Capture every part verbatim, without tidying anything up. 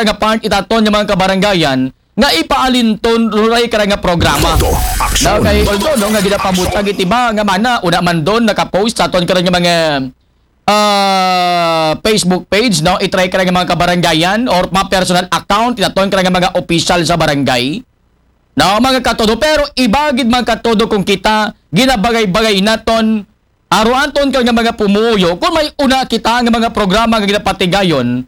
nga part ita aton nga mga kabarangayan nga ipaalinton ruray kara nga programa. Todo aksyon. No, kay although, no, nga ginapabutyag iti ba nga mana, una man don nakapost sa aton kara nga mga, ah, Facebook page, no, itry kara nga mga kabarangayan or mga personal account ita aton kara nga mga official sa barangay. No, mga katodo, pero iba gid mga katodo kung kita ginabagay-bagay naton, aro aton kara nga mga pumuyo, kung may una kita nga mga programa nga ginapatigayon,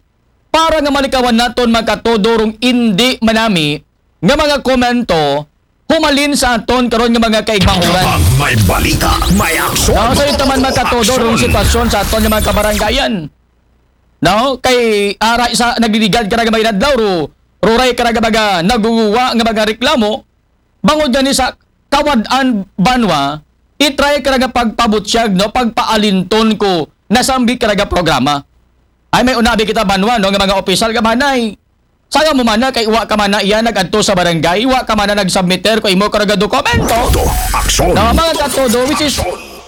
para nga malikawan naton mga katodo rong indi manami nga mga komento humalin sa aton karon nga mga kaigmahuran. Pag may balita, may aksyon. No, sa ita man mga katodo rong sitwasyon sa aton nga mga kabarangayan. No, kay ara sa nagligad kara nga mga inadlaw ro, ruray kara nga mga naguguwa nga mga reklamo, bangod gani sa kawad-an banwa, itry kara nga pagpabutyag, no, pagpaalinton ko nasambit kara nga programa. Ay, may unabi kita banwa, no, nga mga opisyal nga manay. Sayaw mo mana kay wa ka mana iya nag-adto sa barangay, wa ka mana nagsubmiter ko imo kara nga dokumento. Todo aksyon. No, mga katodo, which is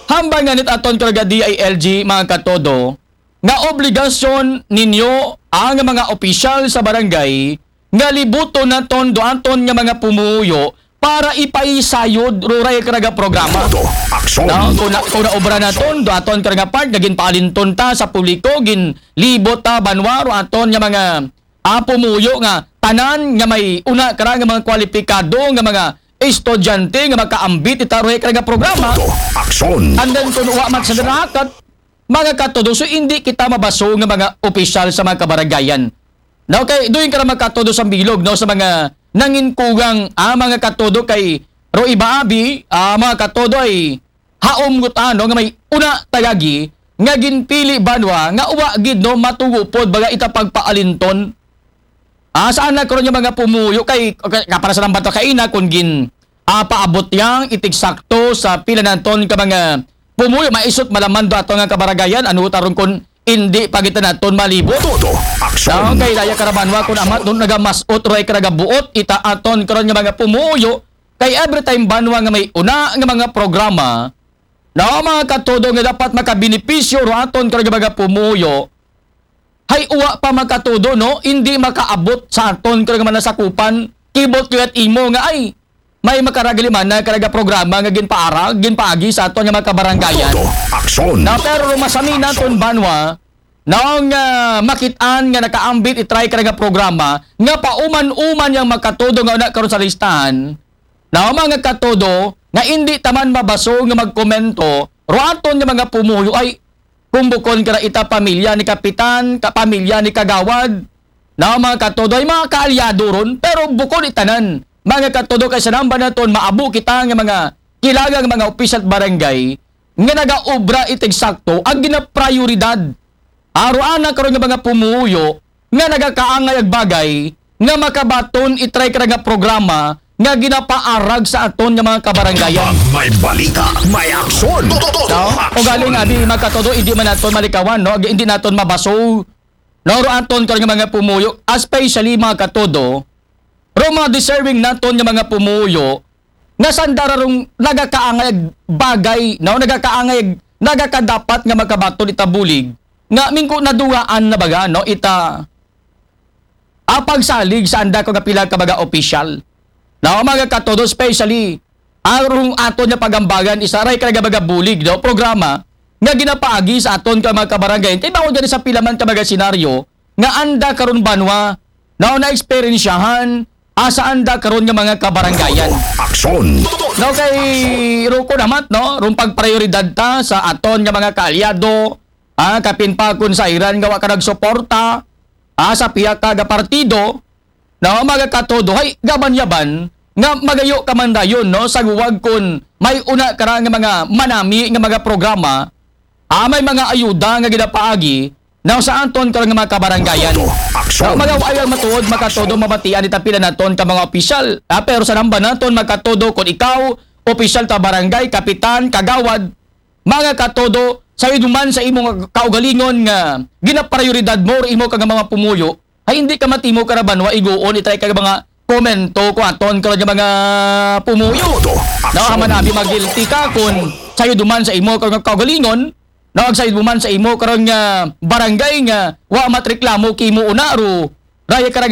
hambal nga nit aton kara nga D I L G, mga katodo, nga obligasyon ninyo ang mga opisyal sa barangay nga libuton naton do aton nga mga pumuyo para ipaisayod ruray kara nga programa. Todo aksyon. No, kung na, kung naobra naton do aton kara nga part nga ginpaalinton ta sa publiko, ginlibot ta banwa ro aton nga mga, ah, pumuyo nga tanan nga may una kara nga mga kwalipikado nga mga estudyante nga makaambit ita ruray kara nga programa. Todo aksyon. And then kung wa man sa narakat, mga katodo, so hindi kita mabaso nga mga opisyal sa mga kabarangayan. No, kay doon ka na mga katodo sa bilog, no, sa mga nanginkugang, ah, mga katodo kay ro iba abi, ah, mga katodo ay haom gutano nga may una tagagi nga ginpili banwa nga uwa gid, no, matugupod baga ita pagpaalinton. Ah, saan na karon yung mga pumuyo kay, kay para sa lambat kaina kung gin, ah, paabot yang itigsakto sa pila naton ka mga pumuyo maisot malaman do ato nga kabaragayan ano taron kun hindi pa kita naton malibot. Todo aksyon. Kay daya karabanwa kun amat doon nagamasot roy karagabuot ita aton karon nga mga pumuyo kay every time banwa nga may una nga mga programa na mga katodo nga dapat makabenepisyo ro aton karon nga mga pumuyo hay uwa pa makatudo, no? Hindi makaabot sa aton kung mga nasakupan. Kibot ko at imo nga ay may makaragali man na karaga programa nga ginpaarag, ginpaagi sa aton nga mga kabarangayan. Todo aksyon. Na pero rumasami naton banwa, naong, ah, makitaan nga nakaambit itry karaga programa nga pauman-uman yang makatudo nga una karon sa listahan. Na mga katudo nga hindi taman mabaso nga magkomento, ro aton nga mga pumuyo ay kung bukon kara ita pamilya ni kapitan, ka pamilya ni kagawad, na mga katodo ay mga kaalyado ron, pero bukon itanan, mga katodo kay sanamba naton maabo kita nga mga kilagang mga opisyal barangay nga nagaobra iti eksakto ang ginaprioridad. Aruana karon nga mga pumuyo nga nagakaangay ag bagay nga makabaton itry kara nga programa nga ginapaarag sa aton nga mga kabarangayan. Pag may balita, may aksyon. Todo, todo, todo. No? Ugaling abi makatodo, hindi man naton malikawan, no? Hindi naton mabaso. No, ro aton karon nga mga pumuyo, especially mga katodo, ro mga deserving naton nga mga pumuyo, nga sanda ra rong nagakaangay ag bagay, no? Nagakaangay ag, nagakadapat nga makabaton ita bulig, nga mingko naduwaan na baga, no? Ita, ah, pagsalig sa anda ko nga pila ka mga opisyal. No, mga katodo, especially, arong aton nga pagambagan, isa ray ka nga mga bulig, no? Programa, nga ginapaagi sa aton ka mga kabarangay. Kay bawal gani sa pila man ka mga senaryo, nga anda karon banwa, no, na eksperyensyahan, asa anda karon nga mga kabarangayan. Aksyon. No, kay ruko namat, no, rong pagprioridad ta sa aton nga mga kaalyado, ah, kapin pa kun sa iran nga wa ka nagsuporta, ah, sa pihak ka nga partido, no, mga katodo, hay, gaban-yaban, nga magayo ka man dayon, no, sa guwag kun may una kara nga mga manami nga mga programa, ah, may mga ayuda nga ginapaagi, no, sa aton karon nga mga kabarangayan. Todo aksyon. No, mga wayang matuod, makatodo, mabatian ita pila naton ka mga opisyal. Ah, pero sanamba naton, makatodo, kun ikaw, opisyal ta barangay, kapitan, kagawad, mga katodo, sa iduman sa imong kaugalingon nga ginaprioridad mo or imo ka nga mga pumuyo, ay hindi ka matimo karabanwa iguon itry ka mga komento ko aton karon nga mga pumuyo. Todo aksyon. No, haman abi magilti ka kun sayo duman sa imo karon nga kaugalingon, no, ag sayo duman sa imo karon nga barangay nga wa matreklamo kimo una ro Raya karaga